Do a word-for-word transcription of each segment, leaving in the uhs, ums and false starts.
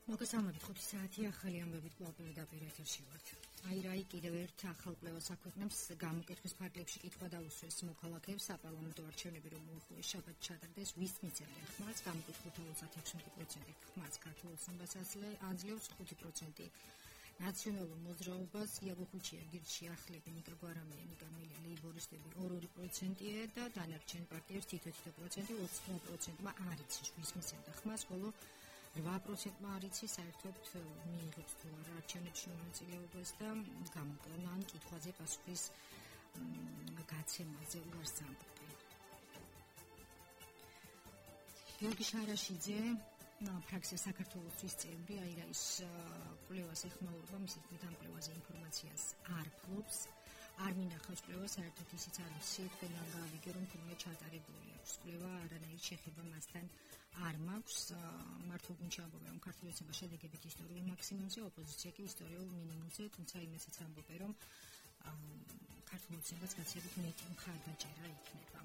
მოგესალმებით ხუთი საათი ახალი ამბებით კვლავ პირდაპირ ეთერში ვართ. აირაი კიდევ ერთ ახალ კვლევას აქვეყნებს გამოკითხვის ფარგლებში კითხვა დაუსვეს მოქალაქეებს საპარლამენტო არჩევნები რომ მოუხმეს შაბათ ჩატარდეს ვის მიცემენ ხმას გამოკითხულთა ოცდაექვსი პროცენტი ხმას ქართულ ოცნებას აძლევს ხუთი პროცენტი ნაციონალურ მოძრაობას იაგოხუჩია გირჩი ახლები ნიკა გვარამია ნიკა მილი ლეიბორისტები ორი პროცენტია და დანარჩენი პარტიებს თითო-თითო პროცენტი ოცდაოთხ პროცენტმა არ იცის ვის მიცემდა ხმას ხოლო რვა პროცენტმა არ იცის საერთოდ მიიღებს თუ არა არჩევნებში მონაწილეობას და გამოკვლევა ან კითხვაზე პასუხის გაცემაზე უარს ამბობენ. გიორგი შარაშიძე ფრაქცია საქართველოსთვის წევრი აირაის კვლევას ეხმაურება მისი თქმით ამ კვლევაზე ინფორმაციას არ ფლობს არ მინახავს კვლევა საერთოდ ისიც არ ვიცი თქვენ არ გავიგე რომ თურმე ჩატარებული აქვს კვლევა არანაირი შეხება მასთან არ მაქვს მართლა გუნჩი ამბობენ რომ ქართული ოცნება შედეგებით ისტორიულ მაქსიმუმზე ოპოზიცია კი ისტორიულ მინიმუმზე თუმცა იმასაც ამბობენ რომ ქართული ოცნებას გაცილებით მეტი მხარდაჭერა იქნება.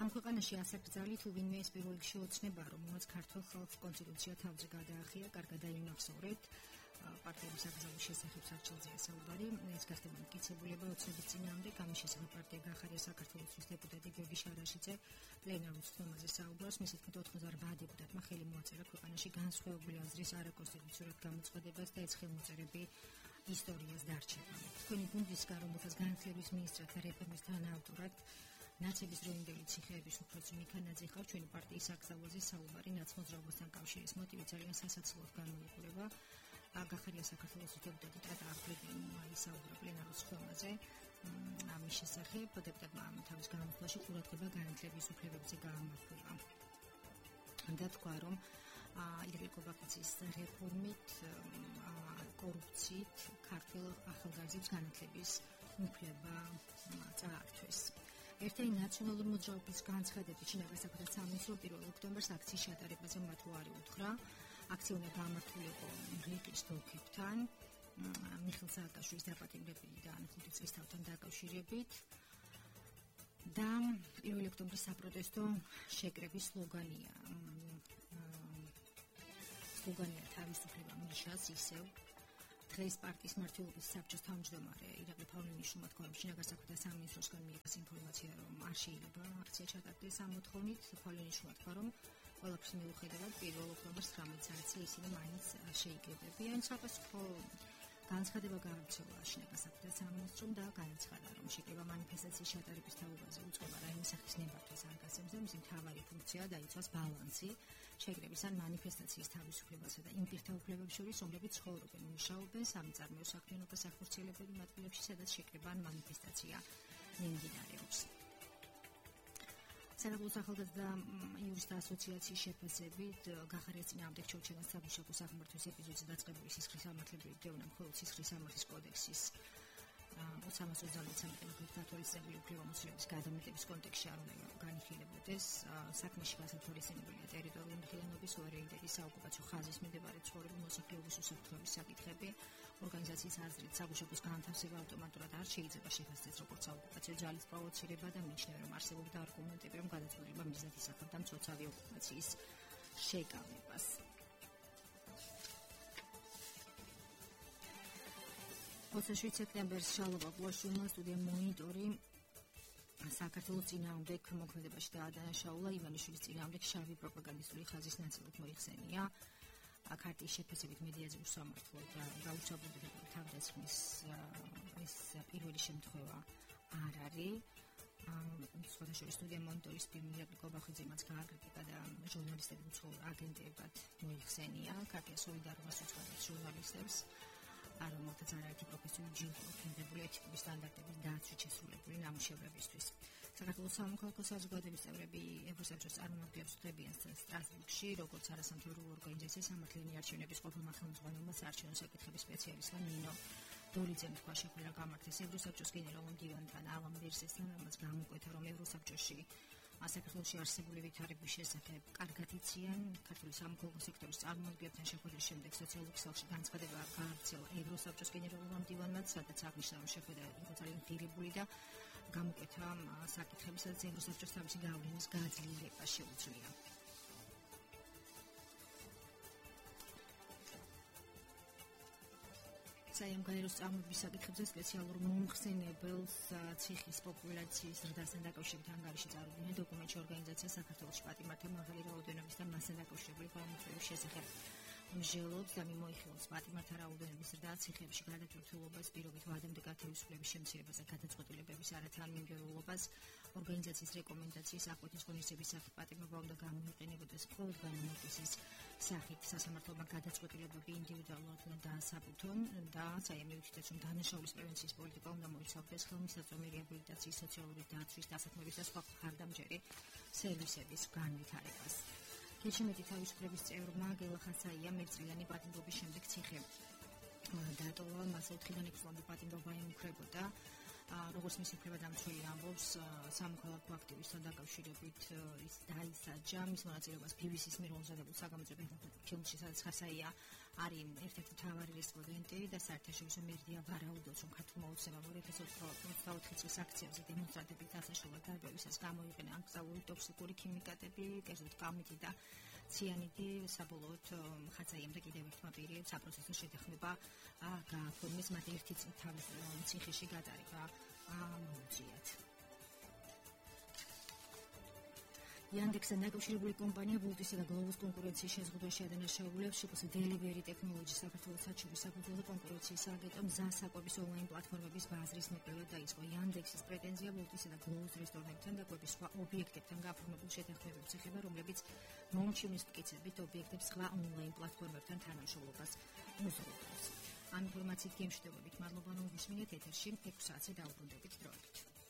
ამ ქვეყანაში ასაკრძალი თუ ვინმე ეს პირველ რიგში ოცნება რომ მას ქართულ ხალხს კონსტიტუცია თავზე გადაახია კარგად დაინახსოვრეთ პარტიების აკრძალვის შესახებ სარჩელზეა საუბარი ეს გახდება მტკიცებულება ოცნების წინააღმდეგ ამის შესახებ პარტია გახარია საქართველოს დეპუტატი გიორგი შარაშიძე პლენარულ სხდომაზე საუბრობს მისი თქმით ოთხ ათას რვა დეპუტატმა ხელი მოაწერა ქვეყანაში განსხვავებული აზრის არაკონსტიტუციურად გამოცხადებას და ეს ხელმოწერები ისტორიას დარჩება. თქვენი გუნდისგან რომელსაც განათლების მინისტრად და რეფორმის თანაავტორად ნაცების დროინდელი ციხეების უფროსი მიქანაძე ხარ ჩვენი პარტიის აკრძალვაზე საუბარი ნაცმოძრაობასთან კავშირის მოტივი ძალიან სასაცილოდ გამოიყურება. გახარია საქართველოს დეპუტატი ტატა აღგრებინმა ისაუბრა პლენარულ სხდომაზე ამის შესახებ დეპუტატმა თავის განმავლობაში ყურადღება განათლების უფლებებზე გაამახვილა და თქვა რომ ირაკლი კობაქიძის რეფორმით კორუფციით ქართულ ახალგაზრდებს განათლების უფლება წაართვეს. ერთ-ერთი ნაციონალური მოძრაობის განცხადებით შინაგან საქმეთა სამინისტრო პირველ ოქტომბერს აქციის ჩატარებაზე მათ უარი უთხრა. აქცია უნდა გამართულიყო რეკის დოქებთან, მიხეილ სააკაშვილის დაპატიმრებიდან ხუთი წლის თავთან დაკავშირებით და პირველ ოქტომბრის საპროტესტო შეკრების სლოგანია. სლოგანია თავისუფლება მიშას ისევ დღეს პარტიის მმართველობის საბჭოს თავმჯდომარე ირაკლი ფავნინიშვილმა თქვა, რომ შინაგან საქმეთა სამინისტროსგან მიიღეს ინფორმაცია, რომ არ შეიძლება აქცია ჩატარდეს ამ მოთხოვნით. ფავნინიშვილმა თქვა, რომ ყველაფრის მიუხედავად პირველ ოქტომბერს ცხრამეტ საათზე ისინი მაინც შეიკრიბებიან. საფასურო განცხადება გაავრცელა შინაგან საქმეთა სამინისტრომ და განაცხადა, რომ შეკრება მანიფესტაციის ჩატარების თაობაზე უწყება რაიმე სახის ნებართვას არ გასცემს და მისი მთავარი ფუნქციაა დაიცვას ბალანსი შეკრების ან მანიფესტაციის თავისუფლებასა და იმ პირთა უფლებებს შორის, რომლებიც ცხოვრობენ, მუშაობენ, სამიწარმოო საქმიანობას ახორციელებენ იმ ადგილებში, სადაც შეკრება ან მანიფესტაცია მიმდინარეობს. საქართველოს ახალგაზრდა იურისტთა ასოციაციის შეფასებით გახარიას წინააღმდეგ ჩორჩენას საბუშაკო საფრთხის ეპიზოდზე დაწყებული სისხლის სამართლებრივი დევნა მხოლოდ სისხლის სამართლის კოდექსის ოცდამეტ სანქტებით გათვალისწინებული უფლებამოსილების გადამეტების კონტექსტში არ უნდა განიხილებოდეს. საქმეში გასათვალისწინებულია ტერიტორიული მთლიანობის სუვერენიტეტის საოკუპაციო ხაზის მიმდებარე ცხოვრების მოსახლეობის უსაფრთხოების საკითხები. ორგანიზაციის აზრით საბუშაკოს განთავსება ავტომატურად არ შეიძლება შეფასდეს როგორც საოკუპაციო ძალის პროვოცირება და მიიჩნევა, რომ არსებობდა არგუმენტები, რომ გადაწყვეტილება მიზნად ისახავდა მცოცავი ოკუპაციის შეკავებას. ოცდაშვიდ სექტემბერს შალოვა გუაშვილმა სტუდია მონიტორი საქართველოს წინააღმდეგ მოქმედებაში დაადანაშაულა ივანიშვილის წინააღმდეგ შავი პროპაგანდისტული ხაზის ნაწილად მოიხსენია. ქარტიის შეფასებით მედიაზე უსამართლო და გაუჩაბურებელი თავდასხმის ეს პირველი შემთხვევა არ არის. სხვადასხვა სტუდია მონიტორის პირი ირაკლი კობახიძემაც გააკრიტიკა და ჟურნალისტები უცხოურ აგენტებად მოიხსენია. ქარტია სოლიდარობას უცხოებს ჟურნალისტებს რომელთაც არაერთი პროფესიული ჯილდო ჰქონდებული ეთიკური სტანდარტების დაცვით შესრულებული ნამუშევრებისთვის. საქართველოს სამოქალაქო საზოგადოების წევრები ევროსაბჭოს წარმომადგენლებს ხვდებიან სტრასბურგში, როგორც არასამთავრობო ორგანიზაცია სამართლიანი არჩევნების ყოფილმა ხელმძღვანელმა საარჩევნო საკითხების სპეციალისტმა ნინო დოლიძემ თქვა, შეგვიძლია გამართეს ევროსაბჭოს გენერალურ მდივანთან ალან ვერსესთან, რომელიც გამოკვეთა, რომ ევროსაბჭოში საქართველოში არსებული ვითარების შესახებ კარგად იციან. ქართული სამოქალაქო სექტორის წარმომადგენლებთან შეხვედრის შემდეგ სოციალურ ქსელში განცხადება გაავრცელა ევროსაბჭოს გენერალურმა მდივანმა, სადაც აღნიშნა, რომ შეხვედრა იყო ძალიან ღირებული და გამოკვეთა საკითხები, სადაც ევროსაბჭოს თავისი გავლენის გაძლიერება შეუძლია. საიმ გაეროს წარმოების საკითხებზე სპეციალურ მომხსენებელს ციხის პოპულაციის ზრდასთან დაკავშირებით ანგარიში წარუდგინა დოკუმენტში ორგანიზაცია საქართველოს პატიმართა მაღალი რაოდენობის და მასთან დაკავშირებული განმარტების შესახებ მსჯელობს და მიმოიხილავს პატიმართა რაოდენობის ზრდა ციხეებში გადატვირთულობას პირობით ვადამდე გათავისუფლების შემცირებას და გადაწყვეტილებების არათანმიმდევრულობას ორგანიზაციის რეკომენდაციის აკვეთის ღონისძიების სახით პატიმრობა უნდა გამოიყენებოდეს მხოლოდ განმარტების სახით სასამართლომა გადაწყვეტილებები ინდივიდუალურად უნდა დაასაბუთონ და საიმი უთითებს რომ დანაშაულის პრევენციის პოლიტიკა უნდა მოიცავდეს ხელმისაწვდომი რეაბილიტაციის სოციალური დაცვის დასაქმების და სხვა მხარდამჭერი სერვისების განვითარებას. Keçიმეთი თავისუფლების წევრმა გელა ხასაიამ ერთწლიანი პატიმრობის შემდეგ ციხე დატოვა, მას ოთხიდან ექვსი წლამდე პატიმრობა ემუქრებოდა. როგორც მისი უფლებადამცველი ამბობს, სამოქალაქო აქტივისტთან დაკავშირებით ის დაისაჯა მის მონაწილეობას ბი ბი სის მიერ მომზადებულ საგამოძიებელ ფილმში, სადაც ხასაია არის ერთ-ერთი მთავარი რესპონდენტი და საერთაშორისო მედია ვარაუდობს, რომ ქართულმა ოცნებამ ორი ათას ოცდაოთხი წლის აქციებზე დემონსტრანტების დასაშლელად დარბევისას გამოიყენა აკრძალული ტოქსიკური ქიმიკატები, კერძოდ კამიტი და ციანიდი. საბოლოოდ ხასაიამ და კიდევ ერთმა პირი საპროცესო შეთანხმება გააფორმეს, მათ ერთი წლით თავის ციხეში გატარება მოუწიათ. Yandex-თან დაკავშირებული კომპანია Boltis-ი და Globus კონკურენციის შეზღუდვაში ადანაშაულებს შეკოს Delivery Technologies საქართველოს საჩუქრის საფუძველზე კონკურენციის სააგენტომ ზასაკვების ონლაინ პლატფორმების ბაზრის მოკვლევა დაიწყო. Yandex-ის პრეტენზია Boltis-ი და Globus რესტორნებთან და კვების სხვა ობიექტებთან გაფორმებულ შეთანხმებებს ეხება, რომლებიც მომჩივნის მტკიცებით ობიექტებს სხვა ონლაინ პლატფორმებთან თანამშრომლობას უზრუნველყოფს. ამ ინფორმაციით გემშვიდობებით მადლობა რომ გისმინეთ ეთერში ექვსი საათზე დაუბრუნდებით დროებით.